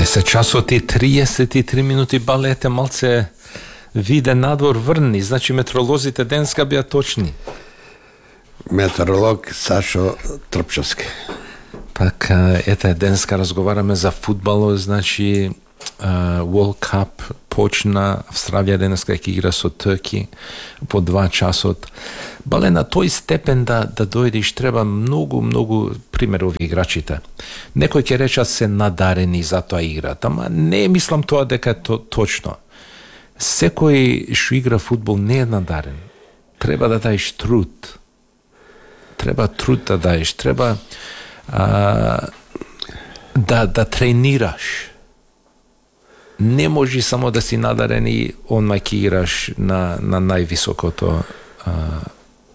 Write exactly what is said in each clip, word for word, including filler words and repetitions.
се часот и триесет и три минути, балете малце виде надвор врни, значи метеоролозите денска беа точни. Метеоролог Сашо Трпчовски. Пак, ете, денска разговараме за фудбало, значи uh, World Cup почна, Австралија денеска ќе игра со Турки по два часот. Бале на тој степен да да дојдеш треба многу многу пример ови играчите. Некој ќе рече се надарени за тоа играт, ама не мислам тоа дека то точно. Секој што игра фудбал не е надарен. Треба да даеш труд. Треба труд да даеш, треба а, да да тренираш. Не може само да си надарен и онма ќе играш на на највисокото а,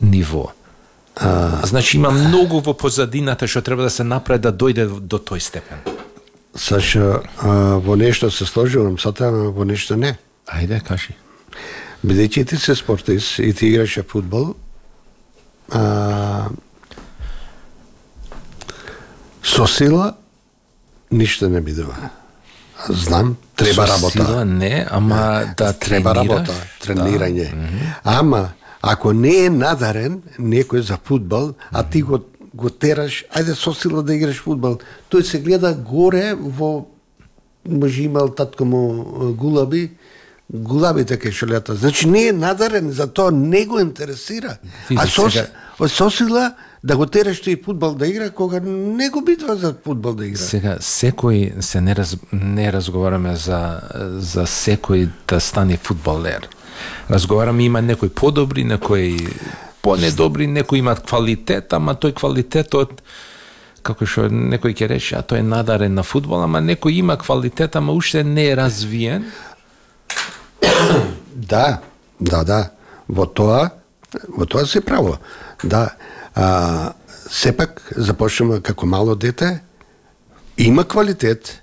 ниво. А, значи има многу во позадината што треба да се направи да дојде до тој степен. Сашо, а, во нешто се сложувам со тоа, во нешто не. Ајде, кажи. Бидејќи ти се спортист и ти играше фудбал, а, со сила ништо не бидува. Знам, треба со работа. Сила не, ама да треба тренираш, работа, тренирање. Да. Mm-hmm. Ама ако не е надарен некој за фудбал, а ти го го тераш, ајде со сила да играш фудбал, тој се гледа горе во, може имал татко му гулаби, гулабите кај што лета. Значи не е надарен, за тоа не го интересира. Види, а со, сега... со сила да го тераш тој фудбал да игра, кога не го битва за фудбал да игра. Сега, секој се не, раз, не разговараме за, за секој да стане фудбалер. Разговараме, има некои подобри, некои понедобри, некои имат квалитет, ама тој квалитетот, како што некој ќе рече, а тој е надарен на фудбал, ама некој има квалитет, ама уште не е развиен. Да, да, да. Во тоа, во тоа се право. Да. А, сепак започнува како мало дете, има квалитет,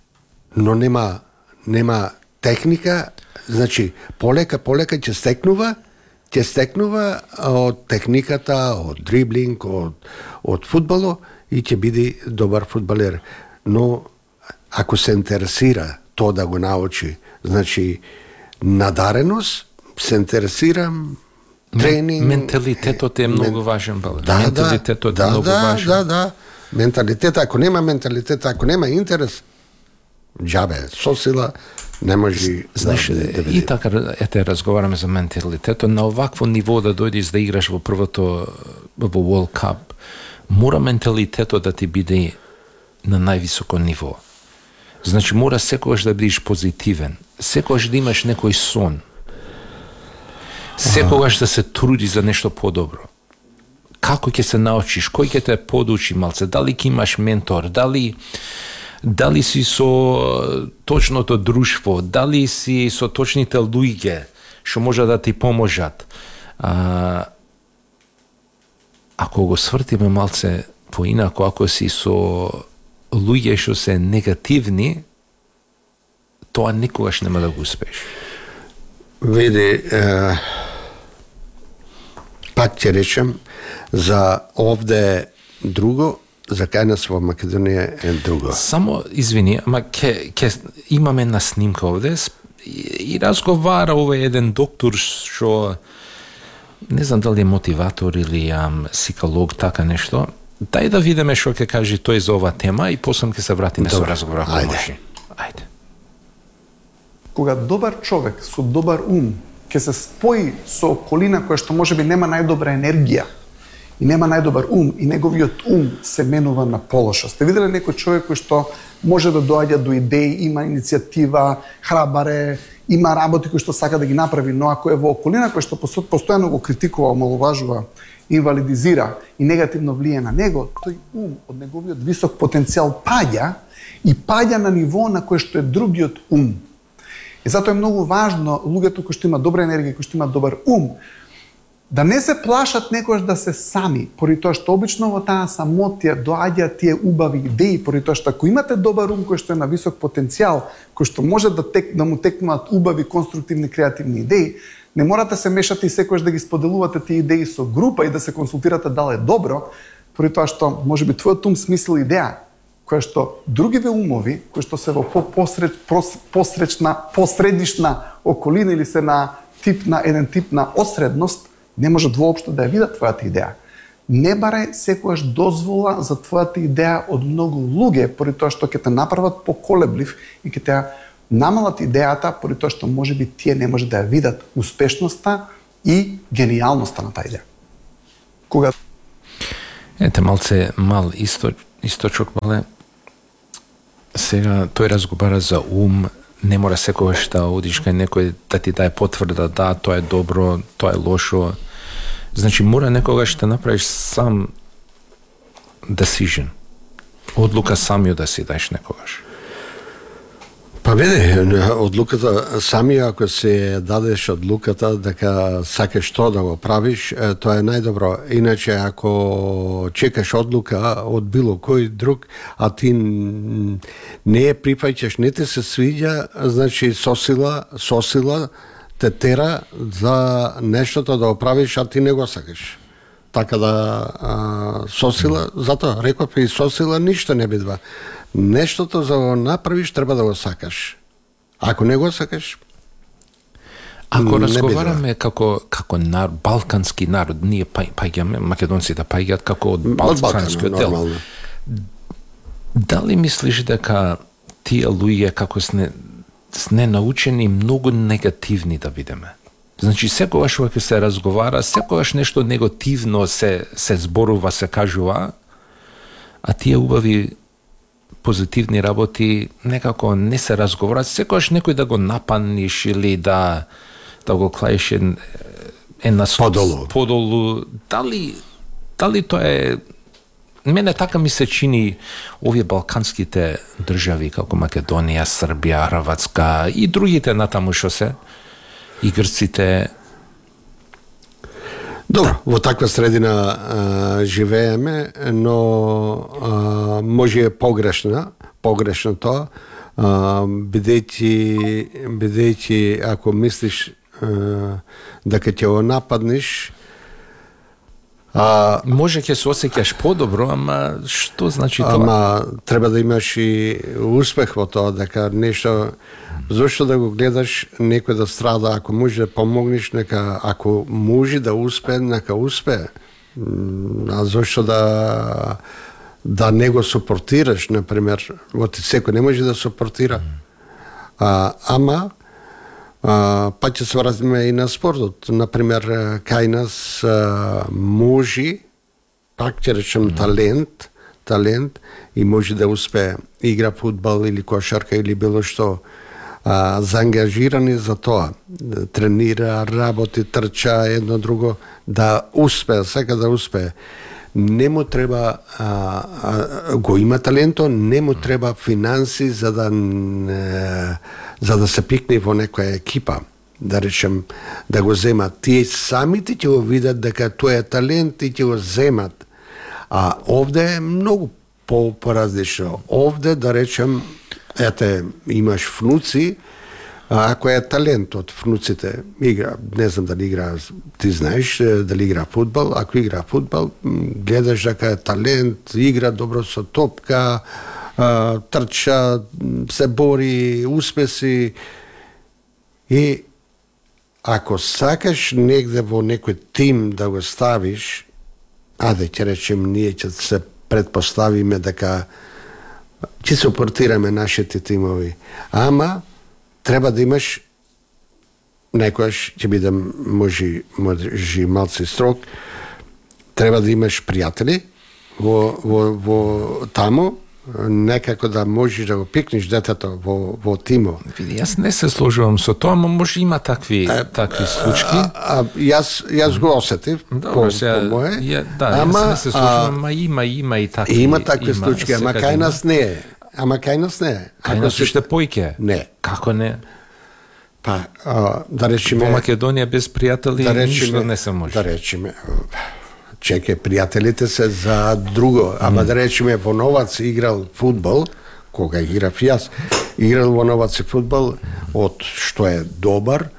но нема нема техника, значи полека полека ќе стекнува, ќе стекнува од техниката, од дриблинг, од од фудбало и ќе биде добар фудбалер. Но ако се интересира тоа да го научи, значи надареност, се интересирам, тренинг. Менталитетот е многу мен... важен, бал. Да, менталитетот да, е многу да, важен. Да, да, менталитет, ако нема менталитет, ако нема интерес, џабе, со сила не може. Знаеш, да, да, да и така ете разговараме за менталитетот, на овакво ниво да дојдеш да играш во првото во World Cup, мора менталитетот да ти биде на највисоко ниво. Значи мора секогаш да бидеш позитивен, секогаш да имаш некој сон. Секогаш да се труди за нешто подобро. Како ќе се научиш, кој ќе те подучи малце, дали ќе имаш ментор, дали дали си со точното друштво, дали си со точните луѓе што може да ти поможат. А, ако го свртиме малце поинако, ако си со луѓе што се негативни, тоа никогаш нема да го успееш. Види, е, пак ќе речем, за овде друго, за кај нас во Македонија е друго. Само, извини, ама ке, ке имаме на снимка овде и, и разговара овој еден доктор што не знам дали е мотиватор или ам, психолог, така нешто. Дај да видиме што ќе каже тој за оваа тема и после ќе се вратиме со разговор. Ајде. Ајде. Кога добар човек со добар ум ќе се спои со околина која што можеби нема најдобра енергија и нема најдобар ум и неговиот ум се менува на полоша. Сте виделе некој човек кој што може да доаѓа до идеи, има иницијатива, храбар е, има работи кои што сака да ги направи, но ако е во околина која што постојано го критикува, омаловажува, инвалидизира и негативно влие на него, тој ум од неговиот висок потенцијал паѓа и паѓа на ниво на кој што е другиот ум. И затоа е многу важно луѓето кои што имаат добра енергија, кои што имаат добар ум, да не се плашат некојаш да се сами, поради тоа што обично во таа самотија доаѓаат тие убави идеи, поради тоа што ако имате добар ум кој што е на висок потенцијал, кој што може да тек да му текнуваат убави, конструктивни, креативни идеи, не морате се мешате и секојаш да ги споделувате тие идеи со група и да се консултирате дали е добро, поради тоа што можеби твојот ум смислил идеја која што другиве умови, кои што се во посред, посречна, посредишна околина или се на тип на еден тип на осредност, не можат воопшто да ја видат твојата идеја. Не барај секогаш дозвола за твојата идеја од многу луѓе, поради тоа што ќе те направат поколеблив и ќе те намалат идејата, поради тоа што можеби тие не може да ја видат успешноста и гениалноста на таа идеја. Кога Ете, малце мал исто, источок, мале. Сега тој разговара за ум, не мора секогаш да одиш кај некој да ти даде потврда, да, тоа е добро, тоа е лошо. Значи, мора некогаш да направиш сам decision. Одлука самиот да си даеш некогаш. Па веде, одлуката, самија ако се дадеш одлуката дека сакаш што да го правиш, тоа е најдобро. Иначе ако чекаш одлука од било кој друг, а ти не ја прифаќаш, не те се свиѓа, значи сосила, сосила те тера за нештото да го правиш, а ти не го сакаш. Така да а, сосила, затоа реков и сосила ништо не бидва. Нештото за да го направиш треба да го сакаш. Ако не го сакаш, ако разговараме како како нар, балкански народ, ние паѓаме, македонците паѓаат како од балканскиот дел. Дали мислиш дека тие луѓе како сне сне научени многу негативни да видиме? Значи секогаш кога се разговара, секогаш нешто негативно се се зборува, се кажува, а тие убави позитивни работи некако не се разговарат, секогаш некој да го нападниш или да да го клаеш е, е на подолу. подолу. Дали дали тоа е, мене така ми се чини овие балканските држави како Македонија, Србија, Хрватска и другите натаму што се и грците. Добро, во таква средина а, живееме, но а, може е погрешна, погрешно тоа, а, бидејќи, бидејќи ако мислиш а, дека ќе го нападнеш, а, може ќе се осеќаш подобро, ама што значи тоа? Ама треба да имаш и успех во тоа, дека нешто. Зошто да го гледаш некој да страда, ако може да помогнеш, нека, ако може да успее, нека успее. А зошто да да не го супортираш, например, вот секој не може да супортира. А, ама а, па ќе се вратиме и на спортот. Например, кај нас а, може, пак ќе речем талент, талент и може да успее. Игра фудбал или кошарка или било што. А, заангажирани за тоа, тренира, работи, трча, едно друго, да успее, сака да успее. Не му треба, а, а, го има таленто, не му треба финанси за да, не, за да се пикне во некоја екипа, да речем, да го земат. Тие самите ќе го видат дека тоа е талент и ќе го земат. А овде е многу по-поразлично. Овде, да речем, ете, имаш внуци, а ако е талент од внуците, игра, не знам дали игра, ти знаеш дали игра фудбал, ако игра фудбал, гледаш дека е талент, игра добро со топка, а, трча, се бори, успеси и ако сакаш негде во некој тим да го ставиш, аде ќе речем ние ќе се предпоставиме дека ќе супортираме нашите тимови. Ама треба да имаш, некојаш ќе бидам може може малце строг, треба да имаш пријатели во во во таму, некако да можеш да го пикнеш детето во во тимо. Види, јас не се сложувам со тоа, но може има такви а, такви случаи. А, а, јас јас го осетив по, сега, по мое. Ја, да, ама, јас не се сложувам, ама има има и такви. Има такви случаи, ама кај нас не е. Ама кај нас не е. Кај нас уште поиќе? Не. Како не? Па, а, да речеме... Во Македонија без пријатели да ништо не се може. Да речеме, чеке, пријателите се за друго, ама mm. да речеме во Новац играл фудбал, кога играв јас, играл во Новац фудбал, од што е добар,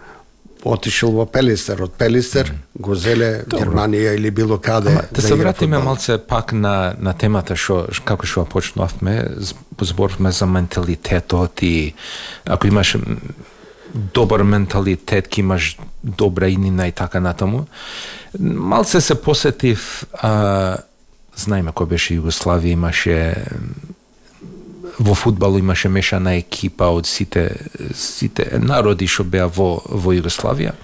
отишел во Пелистер, од Пелистер го зеле Германија или било каде. Ама, да се вратиме малце пак на на темата што како што почнавме, зборувавме за менталитетот и ако имаш добар менталитет, ки имаш добра иднина и така натаму. Малце се посетив, а, знаеме кој беше Југославија, имаше во фудбал имаше мешана екипа од сите сите народи што беа во во Југославија.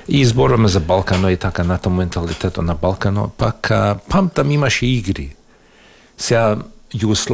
И изборуваме за Балкано и така натаму менталитетот на Балкано, пак памтам имаше игри. Сега Југославија